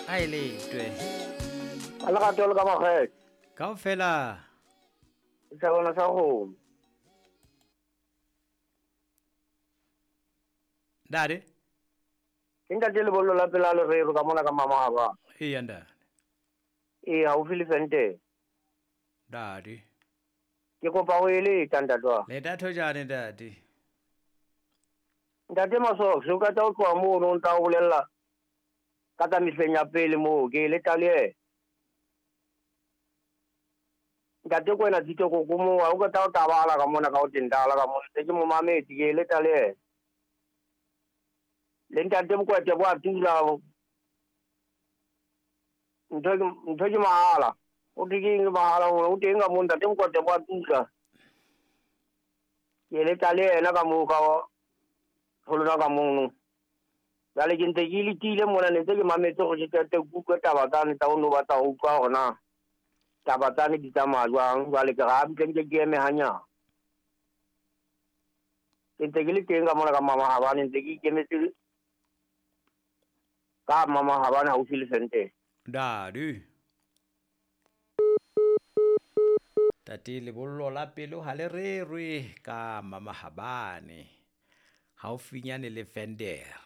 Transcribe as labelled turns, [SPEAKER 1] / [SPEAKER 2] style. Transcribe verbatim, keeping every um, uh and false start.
[SPEAKER 1] A e letwe.
[SPEAKER 2] A le gato le ka makgetho.
[SPEAKER 1] Kaofela.
[SPEAKER 2] Setjhabana sa kgomo.
[SPEAKER 1] Ntate.
[SPEAKER 2] Ke ntate lebollo la pela lerero ka mona ka mama haba.
[SPEAKER 1] Eya ntate.
[SPEAKER 2] Ee, haufi le Fente.
[SPEAKER 1] Ntate.
[SPEAKER 2] Ke kopa ho eletsa ntate wa.
[SPEAKER 1] Le thojane ntate.
[SPEAKER 2] Ntate Masox, o ka tla o tloha mono o ntla o bolella ka tsa mehleng ya pele moo ke eletsa le yena. Ntate Kwena Tshito koko moo ha o ka tla o tabala ka mona ka o tentala ka mona ntse ke mo mametse ke eletsa le yena. Le ntate Mokwete bo a tula ntho ke ntho ke mahala. O thwe ke eng mahala o teng ka moo ntate Mokwete bo a tula. Ke eletsa le yena ka moo ka ho lona ka mono. Jwale ke ntse ke letile mona ne ntse ke mametse hore ke qete ke utlwe taba tsane tsa o no batla ho utlwa hore na taba tsane di tsamaya jwang. Jwale ke re ha butle nke ke eme hanyane. Ke ntse ke le teng ka mona ka mama Habane ntse ke ikemetse ka mama Habane haufi le Fente.
[SPEAKER 1] Ntate. Tate lebollo la pelo ha le rerwe ka mama Habane haufinyane le Fender.